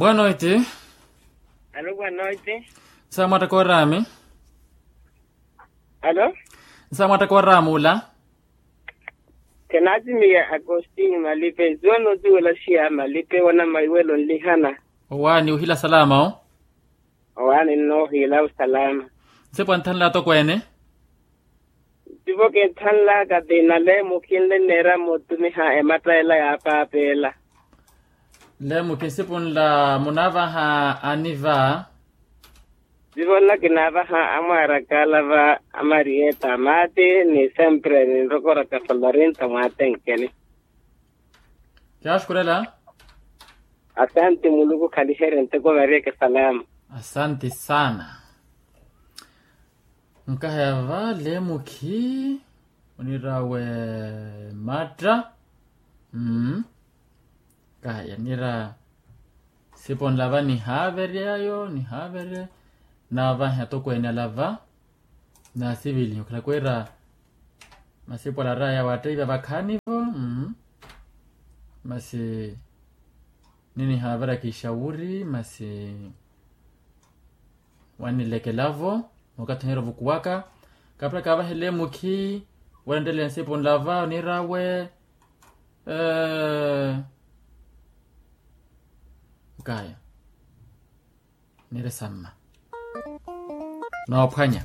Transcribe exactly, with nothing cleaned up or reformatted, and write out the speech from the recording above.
Boa noite. Alo boa noite. Nsamwatta koorami. Alo. Nsamwatta koorami ula. Kinaatimiya agostinho malipe nzuwa nozuwela xiya malipe wana maiwelo nlihana. Owaani uhila salama o. Owaani nnoohila osalama. Nsipu anthanla atokweene. Nsipu kinthanlaka ti naleemukhi nle nneera mootumiha ematta ela yaapaapeela. Leemukhi nsipu nla munaavaha aniva. Nsipu nla kinaavaha amwaaraka ala va amarieta maati ni sempre ninrokoraka folorinto mwaatenkeni. Kyaxukulela. Asanti muluku khaliherye nteko variyeke salama. Asanti sana. Nkahaya va leemukhi onirawe matta. Nkahaya nira siponla va nihaaveryayo nihaaverye. Naavahe atokweene ala va. Naasivilihe okhala kwira masipu ala araya waatteiva vakhaanivo. Masi ninihaaveraka ixawuri masi wannilekelavo mookathi oniira ovukuwaka. Kapira kaavahele mukhi wenttele nsipu nlava oniira awe. Nkaya niire samma noophwanya.